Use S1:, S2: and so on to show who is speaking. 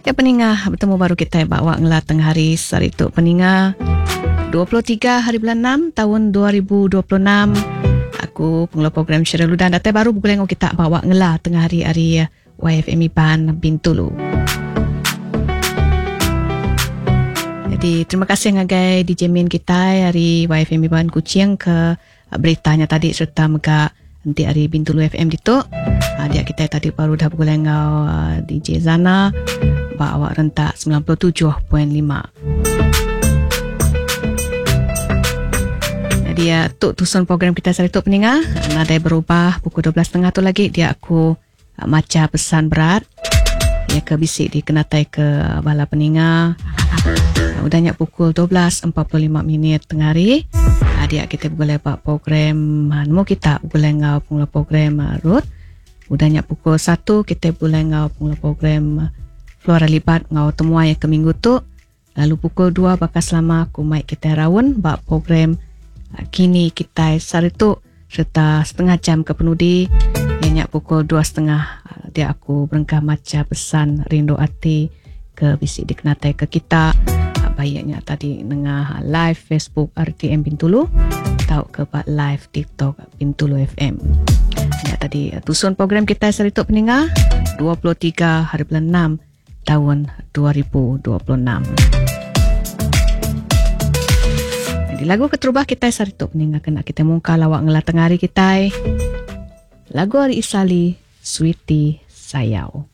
S1: Ya peninga betemu baru kitai ba awak ngela tengah hari sehari tu peninga 23 hari bulan 6 tahun 2026 aku pengelola program Cheryl Ludan datai baru begulai enggau kita ba awak ngela tengah hari ari YFM Iban Bintulu. Jadi terima kasih ngagai DJ Min kitai ari YFM Iban Kuching ke Berita nya tadi sereta mega enti ari Bintulu FM ditu dia kitai tadi baru dah begulai enggau DJ Zana ba awak rentak 97.5. Jadi ya, tu tusun program kita sehari tu peninga nadai berubah pukul 12.30 tu lagi dia aku Macha pesan berat iya ke bisi dikenatai ke bala peninga. Udah nya pukul 12.45 minit tengah hari, dia kita begulai ba program nemu kita begulai enggau pengelola program Ruth. Udah nya pukul 1 kita begulai enggau pengelola program Flora Libat enggau temuai ke minggu tu. Lalu pukul 2 baka selama aku mai kitai raun ba program Kini Kitai Sehari Tu sereta setengah jam ke penudi iya nya pukul dua setengah dia aku berengkah macha pesan rindu ati ke bisi dikenatai ke kita baik nya tadi nengah live Facebook RTM Bintulu tauka ba live TikTok Bintulu FM. Nya tadi tusun program kitai sehari tu peninga 23 hari bulan 6 taun 2026. Jadi lagu keterubah kitai sehari tu peninga kena kitai mungka lawak ngela tengah hari kitai. Lagu ari Isali, Sweetie Sayau.